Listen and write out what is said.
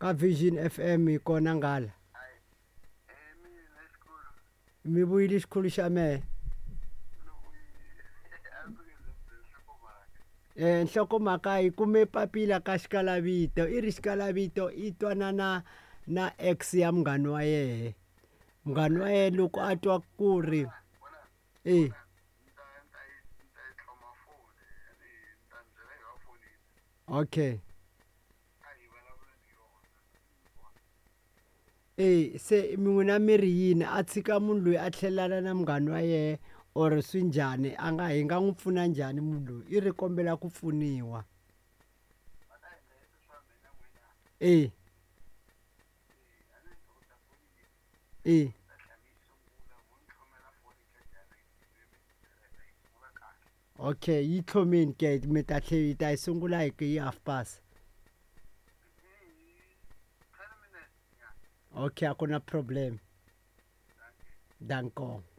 Ka Vision FM hi kona nghala. Mi vuyile xikhulu xa mehe. Nhlokomhaka hi kume papila ka xikalavito i ri xikalavito i twanana na ex ya munghana wa yehe munghana wa yena loko a twa ku ri e okay e se mi n'wina mi ri yini a tshika munhu loyi a tlhelelana na munghana wa yehe or swi njhani a nga hi nga n'wi pfuna njhani munhu loyi i ri kombela ku pfuniwa e e okay yi tlhomeni ke mi ta tlhe yi ta yi sungula hi hi half past okay a ku na problem danko.